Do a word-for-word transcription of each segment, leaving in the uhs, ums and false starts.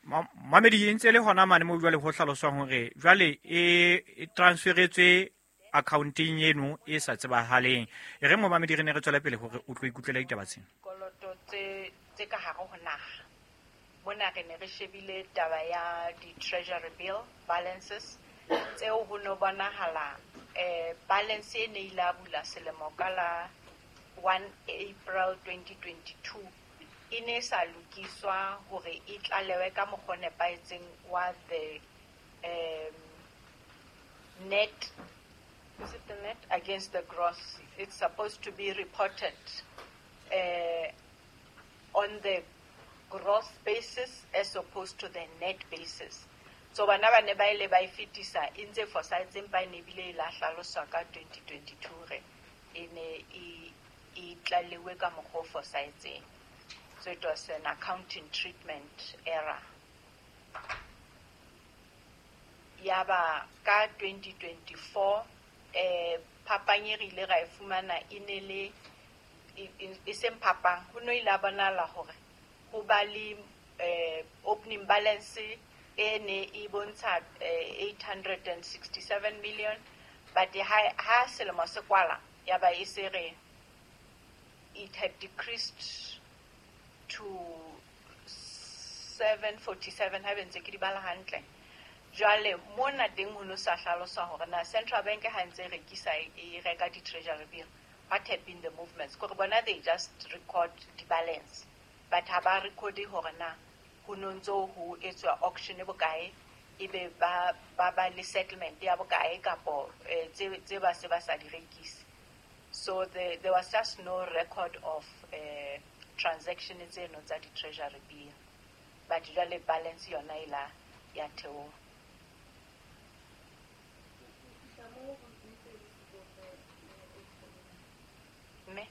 Mamedi e ntse le hona mane mo jwale ho hlaloswang hore jwale e e transferetswe accounteng eno e sa tsebahaleng. E re mo mamedi re ne re tswela pele hore o tlo ikutlwela ditaba tsena. Dikoloto tse tse ka hare ho naha. Mona re ne re shebile taba ya di-treasury bill balances tseo ho no bonahala eh balance e ne ile a bula selemo ka la one April twenty twenty-two e ne sa lokiswa hore e tlalewe ka mokgwa o nepahetseng wa the um net, is it the net against the gross? It's supposed to be reported uh, on the gross basis as opposed to the net basis. So bana ba ne ba ile ba e fetisa e ntse fosahetse empa e ne ebile e la hlaloswa ka twenty twenty-two re e ne e e tlalewe ka mokgwa o fosahetseng. So it was an accounting treatment error. Yaba ka twenty twenty-four eh phapang e re ile ra e fumana e ne le e, e, e seng phapang, ho no ile a bonahala hore ho ba le eh opening balance e ne e bontsha eh, eight hundred and sixty-seven million, but ha, ha selemo se kwala ya ba e se re it had decreased to seven forty-seven, ha be ntse ke di bala hantle. Jwale mona teng ho no sa hlaloswa hore na Central Bank ha ntse e rekisa e reka di-treasury bill, what had been the movements. Kore bona they just record the balance, but ha ba record hore na ho no ntso ho etswa auction e bokae, ebe ba, ba ba le settlement ya bokae kapo, eh, tse, tse ba se ba sa di rekise. So the, there was just no record of, eh, transaction tseno tsa di-treasury bill, but jwale balance yona e la ya theoha. Mme?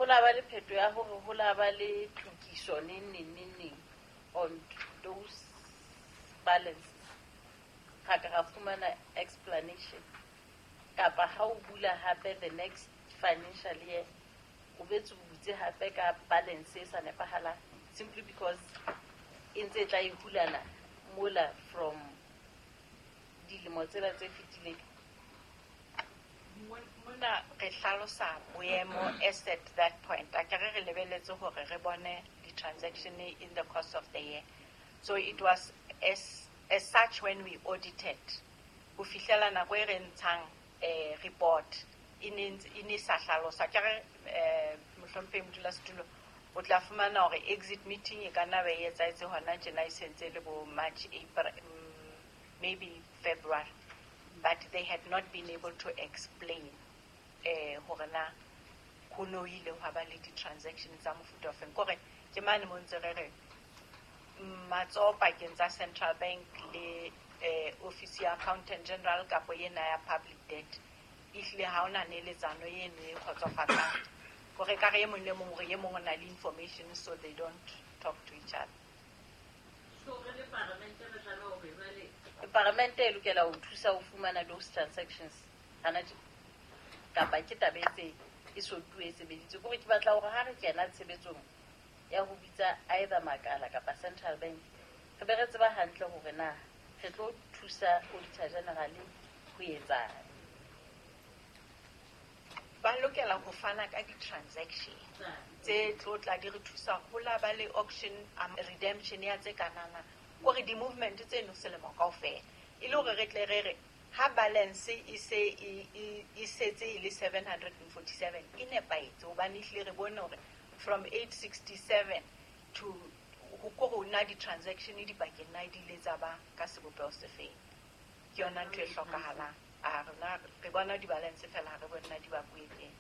Ho la ba le pheto ya hore ho la ba le tokiso neng, neng, neng, neng on those balances. Ha ka ra fumana explanation. Kapa ha o bula hape the next financial year, o betse o butse hape ka balance e sa nepahalang, simply because e ntse e tla e hulana mola from dilemo tsela tse fetileng. Mona re hlalosa boemo as at that point. A ke re re lebeletse hore re bone di-transaction in the course of the year. So it was as, as such when we audited. Ho fihlela nako e re ntshang, eh, report, e ne ntse, e ne sa hlaloswa. Ke re, eh, mohlomphehi modulasetulo, o tla fumana hore exit meeting e ka nna ba e etsahetse hona tjena e sentse e le bo March, April, mm, maybe February. But they had not been able to explain, eh, hore na ho no ile hwa ba le di-transaction tsa mofuta o feng. Kore ke mane mo ntse re re matsoho pakeng tsa Central Bank le, eh, Office ya Accountant General kapo ena ya Public Debt, ehlile ha hona neletsano eno e kgotsofatsang. Hore ka re e mong le mong hore e mong o na le information, so they don't talk to each other. So re le paramente re tlameha hore jwale paramente e lokela ho thusa ho fumana those transactions hana tje, kapa ke taba e tse e so tuwe e sebeditswe. Kore ke batla hore ha re kena tshebetsong ya ho bitsa either makala kapa Central Bank, re be re tseba hantle hore na re tlo thusa Auditor General ho etsang. Ba lokela ho fana ka di-transaction tse tlo tla di re thusa ho la ba le auction, um, redemption ya tse kanana, kore di-movement tseno selemo kaofela, e le hore re tle re re ha balance e se e, e, e setse e le seven hundred and forty-seven e nepahetse, hobane ehlile re bone hore from eight sixty-seven to ho ko ho na di-transaction dipakeng na di ile tsa ba ka sebopeho se feng. Ke yona ntho e hlokahalang. A rona re bona di-balance fela, ha re bone na di bakuwe teng.